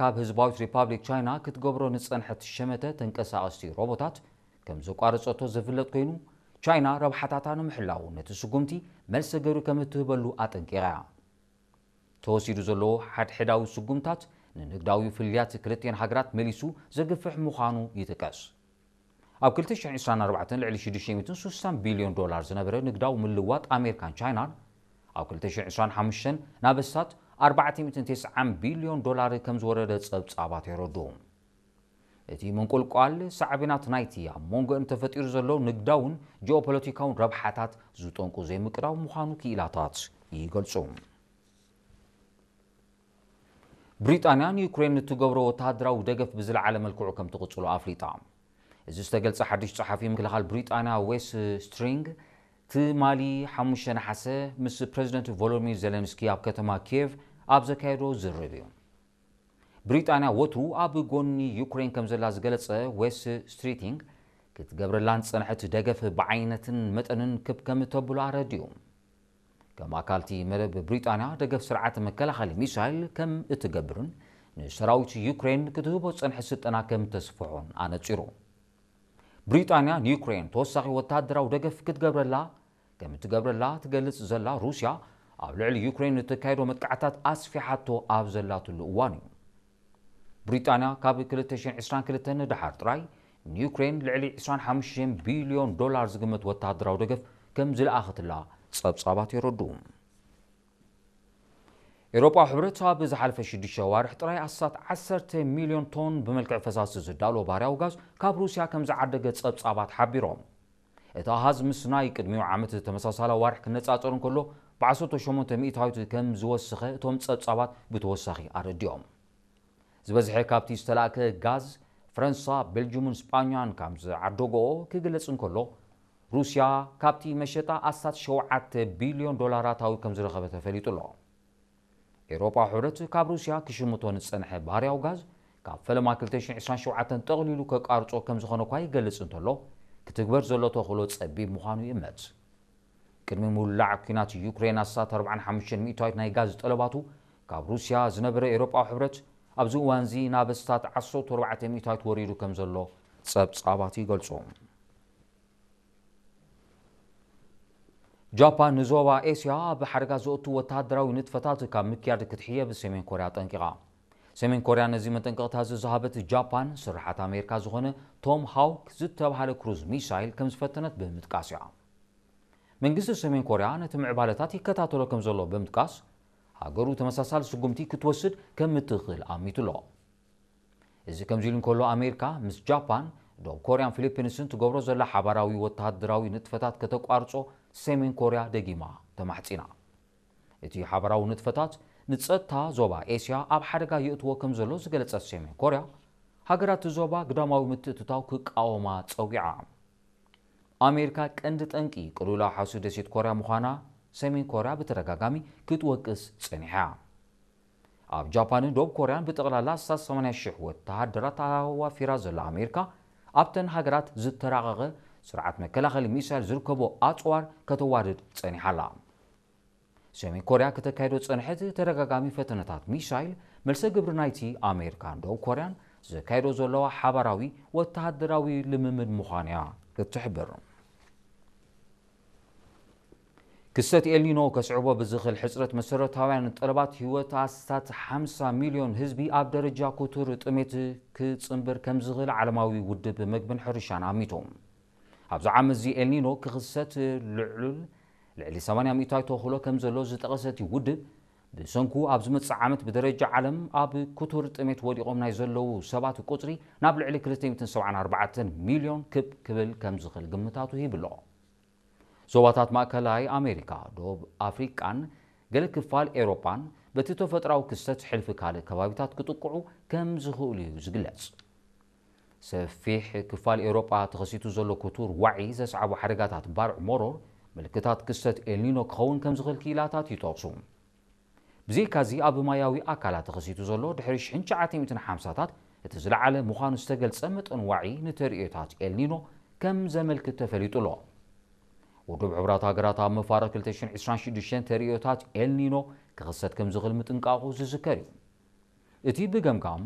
ካብ ህዝባዊት ሪፓብሊክ ቻይና ክትገብሮ ንጸንሐት ሸመተ ተንቀሳቐስቲ ሮቦታት ከም ዘቋረጸቶ ዝፍለጥ ኮይኑ፣ ቻይና ረብሓታታ ንምሕላው ነቲ ስጉምቲ መልሰ ገሩ ከም እትህበሉ ኣጠንቂቓ እያ። ተወሲዱ ዘሎ ሓድሕዳዊ ስጉምታት ንንግዳዊ ፍልልያት ክልቲኤን ሃገራት መሊሱ ዘግፍሕ ምዃኑ ይጥቀስ። ኣብ ክልተ ሽሕን ዕስራን ኣርባዕተን ልዕሊ ሽዱሽተ ሚእትን ስሳን ቢልዮን ዶላር ዝነበረ ንግዳዊ ምልዋጥ ኣሜሪካን ቻይናን፣ ኣብ ክልተ ሽሕን ዕስራን ሓሙሽተን ናብ ኣስታት ኣርባዕተ ሚእትን ተስዓን ቢልዮን ዶላር ከም ዝወረደ ጸብጻባት የረድኡ። እቲ ምንቁልቋል ሳዕቤናት ናይቲ ኣብ መንጎአን ተፈጢሩ ዘሎ ንግዳውን ጂኦፖለቲካውን ረብሓታት ዝጠንቁ ዘይምቅዳው ምዃኑ ክኢላታት ይገልጹ። ብሪጣንያ ንዩክሬን ንትገብሮ ወተሃደራዊ ደገፍ ብዝለዓለ መልክዑ ከም ትቕጽሎ ኣፍሊጣ። እዚ ዝተገልጸ ሓድሽ ጸሓፊ ምክልኻል ብሪጣንያ ዌስ ስትሪንግ ትማሊ ሓሙሽተ ነሓሰ ምስ ፕረዚደንት ቮሎዲሚር ዜለንስኪ ኣብ ከተማ ኪየቭ ኣብ ዘካየዶ ዝርርብ እዩ። ብሪጣንያ ወትሩ ኣብ ጎኒ ዩክሬን ከም ዘላ ዝገለጸ ዌስ ስትሪቲንግ፣ ክትገብረላን ዝጸንሐት ደገፍ ብዓይነትን መጠንን ክብ ከም ተብሎ ኣረዲኡ። ከም ኣካልቲ መደብ ብሪጣንያ ደገፍ ስርዓት መከላኸሊ ሚሳይል ከም እትገብርን ንሰራዊት ዩክሬን ክትህቦ ዝጸንሐ ስልጠና ከም ተስፍሖን ኣነጺሩ። ብሪጣንያ ንዩክሬን ተወሳኺ ወተሃደራዊ ደገፍ ክትገብረላ ከም እትገብረላ ትገልጽ ዘላ ሩስያ፣ ኣብ ልዕሊ ዩክሬን እተካየዶ መጥቃዕታት ኣስፊሓቶ ኣብ ዘላትሉ እዋን እዩ። ብሪጣንያ ካብ ክልተ ሽሕን ዕስራን ክልተን ንደሓር ጥራይ ንዩክሬን ልዕሊ ዕስራን ሓሙሽተን ቢልዮን ዶላር ዝግመት ወተሃደራዊ ደገፍ ከም ዝለኣኸትላ ጸብጻባት የረድኡ። ኤውሮጳዊ ሕብረት ኣብ ዝሓለፈ ሽዱሽተ ዋርሕ ጥራይ ኣስታት ዓሰርተ ሚልዮን ቶን ብመልክዕ ፈሳሲ ዝዳሎ ባህርያዊ ጋዝ ካብ ሩስያ ከም ዝዓደገ ጸብጻባት ሓቢሮም። እቲ ኣሃዝ ምስ ናይ ቅድሚኡ ዓመት ተመሳሳሊ ዋርሕ ክነጻጸር እንከሎ፣ ብዓሰርተ ሸሞንተ ሚእታዊት ከም ዝወሰኸ እቶም ጸብጻባት ብተወሳኺ ኣረዲኦም። ዝበዝሐ ካብቲ ዝተላእከ ጋዝ፣ ፈረንሳ፣ ቤልጅዩምን ስጳኛን ከም ዝዓደገኦ ክግለጽ እንከሎ፣ ሩስያ ካብቲ መሸጣ ኣስታት ሸውዓተ ቢልዮን ዶላር ኣታዊ ከም ዝረኸበ ተፈሊጡ ኣሎ። ኤውሮጳዊ ሕብረት ካብ ሩስያ ክሽምቶ ንጸንሐ ባህርያዊ ጋዝ ካብ ፈለማ ክልተ ሽሕን ዕስራን ሸውዓተን ጠቕሊሉ ከቋርጾ ከም ዝኾነ እኳ ይገልጽ እንተሎ፣ ክትግበር ዘሎ ተኽእሎ ጸቢብ ምዃኑ ይእመት። ቅድሚ ምውላዕ ኲናት ዩክሬን ኣስታት ኣርባዓን ሓሙሽተን ሚእታዊት ናይ ጋዝ ጠለባቱ ካብ ሩስያ ዝነበረ ኤውሮጳዊ ሕብረት፣ ኣብዚ እዋንዚ ናብ ኣስታት ዓሰርተ ኣርባዕተ ሚእታዊት ወሪዱ ከም ዘሎ ጸብጻባት ይገልጹ። ጃፓን ንዞባ ኤስያ ኣብ ሓደጋ ዘእቱ ወተሃደራዊ ንጥፈታት ካብ ምክያድ ክትሕየብ ሰሜን ኮርያ ኣጠንቂቓ። ሰሜን ኮርያ ነዚ መጠንቀቕታ እዚ ዝሃበት ጃፓን፣ ስርሓት ኣሜሪካ ዝኾነ ቶም ሃውክ ዝተባህለ ክሩዝ ሚሳይል ከም ዝፈተነት ብምጥቃስ እያ። መንግስቲ ሰሜን ኮርያ ነቲ ምዕባለታት ይከታተሎ ከም ዘሎ ብምጥቃስ፣ ሃገሩ ተመሳሳሊ ስጉምቲ ክትወስድ ከም እትኽእል ኣሚቱ ኣሎ። እዚ ከምዚ ኢሉ እንከሎ፣ ኣሜሪካ ምስ ጃፓን፣ ደቡብ ኮርያን ፊሊፒንስን ትገብሮ ዘላ ሓባራዊ ወተሃደራዊ ንጥፈታት ከተቋርጾ ሰሜን ኮርያ ደጊማ ተማሕጺና። እቲ ሓባራዊ ንጥፈታት ንጸጥታ ዞባ ኤስያ ኣብ ሓደጋ የእትዎ ከም ዘሎ ዝገለጸት ሰሜን ኮርያ፣ ሃገራት ዞባ ግዳማዊ ምትእትታው ክቃወማ ጸዊዓ። ኣሜሪካ ቀንዲ ጠንቂ ቅልውላው ሓውሲ ደሴት ኮርያ ምዃና ሰሜን ኮርያ ብተደጋጋሚ ክትወቅስ ጸኒሓ። ኣብ ጃፓንን ደቡብ ኮርያን ብጠቕላላ ኣስታት ሰማንያ ሽሕ ወተሃደራት ኣዋፊራ ዘላ ኣሜሪካ፣ ኣብተን ሃገራት ዝተራቐቐ ስርዓት መከላኸሊ ሚሳይል ዝርከቦ ኣጽዋር ከተዋድድ ጸኒሓ ኣላ። ሰሜን ኮርያ ከተካይዶ ዝጸንሐት ተደጋጋሚ ፈተነታት ሚሳይል፣ መልሰ ግብሪ ናይቲ ኣሜሪካን ደቡብ ኮርያን ዘካይዶ ዘለዋ ሓባራዊ ወተሃደራዊ ልምምድ ምዃን እያ እትሕብር። ክስተት ኤልኒኖ ከስዕቦ ብዝኽእል ሕጽረት መሰረታውያን ጠለባት ህይወት ኣስታት ሓምሳ ሚልዮን ህዝቢ ኣብ ደረጃ ክቱር ጥሜት ክጽንብር ከም ዝኽእል ዓለማዊ ውድብ መግብን ሕርሻን ኣሚቱ። ኣብዚ ዓመት እዚ ኤልኒኖ ክኽሰት ልዑል ልዕሊ ሰማንያ ሚእታዊት ተኽእሎ ከም ዘሎ ዝጠቐሰ እቲ ውድብ፣ ብሰንኩ ኣብ ዝመጽእ ዓመት ብደረጃ ዓለም ኣብ ክቱር ጥሜት ወዲቖም ናይ ዘለዉ ሰባት ቁጽሪ ናብ ልዕሊ ክልተ ሚእትን ሰብዓን ኣርባዕተን ሚልዮን ክብ ክብል ከም ዝኽእል ግምታቱ ሂቡ ኣሎ። ዞባታት ማእከላይ ኣሜሪካ፣ ደቡብ ኣፍሪቃን ገለ ክፋል ኤውሮጳን በቲ ተፈጥሮኣዊ ክስተት ሕልፊ ካልእ ከባቢታት ክጥቅዑ ከም ዝኽእሉ እዩ ዝግለጽ። ሰፊሕ ክፋል ኤውሮጳ ተኸሲቱ ዘሎ ክቱር ዋዒ ዘስዓቦ ሓደጋታት ባርዕ መሮር ምልክታት ክስተት ኤልኒኖ ክኸውን ከም ዝኽእል ክኢላታት ይጠቕሱ። ብዘይካዚ፣ ኣብ ማያዊ ኣካላት ተኸሲቱ ዘሎ ድሕሪ ሽሕን ትሽዓተ ሚእትን ሓምሳታት እቲ ዝለዓለ ምዃኑ ዝተገልጸ መጠን ዋዒ ንተርእዮታት ኤልኒኖ ከም ዘመልክት ተፈሊጡ ኣሎ። ውድብ ሕቡራት ሃገራት ኣብ መፋርቕ ክልተ ሽሕን ዕስራን ሽዱሽተን ተርእዮታት ኤልኒኖ ክኽሰት ከም ዝኽእል ምጥንቃቑ ዝዝከር እዩ። እቲ ብገምጋም